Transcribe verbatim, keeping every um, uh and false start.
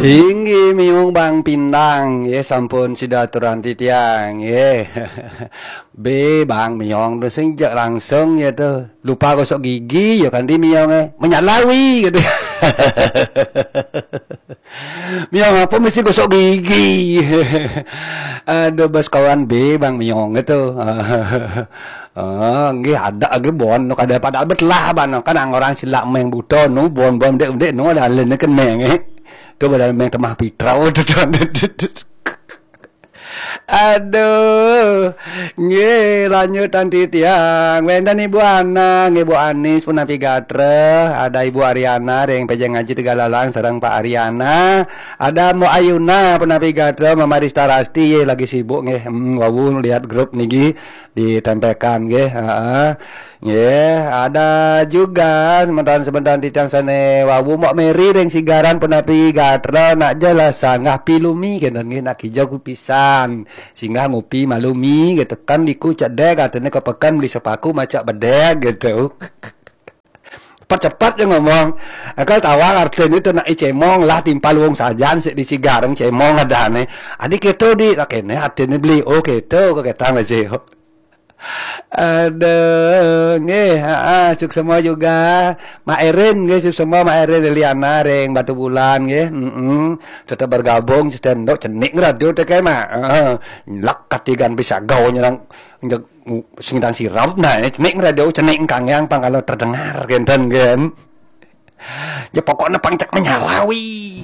Inggih miung Bang Pindang, ya sampun sida aturan titiang, ya. Be Bang miung tu sing jak langsung ya tu. Lupa gosok gigi, ya kan di miung eh. Menyalawi gitu. Miung apa mesti gosok gigi. Aduh bos kawan be Bang miung itu. Ah, nggih ada lagi bon nu kada padahal betelah ban kan orang silak meng buto nu bon bon dek dek nu ada alen keneng eh. Tu badal meng temah pitrau tu. Aduh, nggih lanjut nanti tiang. Wenten Ibu Ana, nggih Bu Anis punapi gatra, ada Ibu Ariana ring pejeng ngaji Tegalalang sareng Pak Ariana, ada Mbok Ayuna punapi gatra, Mama Rista Rasti ye lagi sibuk nggih. Hmm, wau lihat grup niki ditempekan nggih. Heeh. Nggih, ada juga semeton-semeton titiang sane wau Mbok Meri ring Sigaran punapi gatra nak jelas sanggah pilumi kenten nggih nak kijau kupisan. Singgah ngupi malumi gitu kan diku cedek katene ke peken beli sepaku macak bedek gitu. Cepat-cepat je ngomong. Akal tawang artine tu nak cemong lah timpal wong sajan sik di Sigaran cemong adane. Adi keto di lah kene artine beli oh keto ke ketang aja. Aduh, nggih, heeh, suksema juga. Mak Erin nggih suksema Mak Erin Liliana ring Batu Bulan nggih. Heeh. Tetap bergabung stand up cenik radio teke mak. Heeh. Lak katigan bisa gau nyerang singdang sirap nah cenik radio cenik kangkang pang kalau terdengar kenten kan. Ya pokoknya pang cak menyalawi.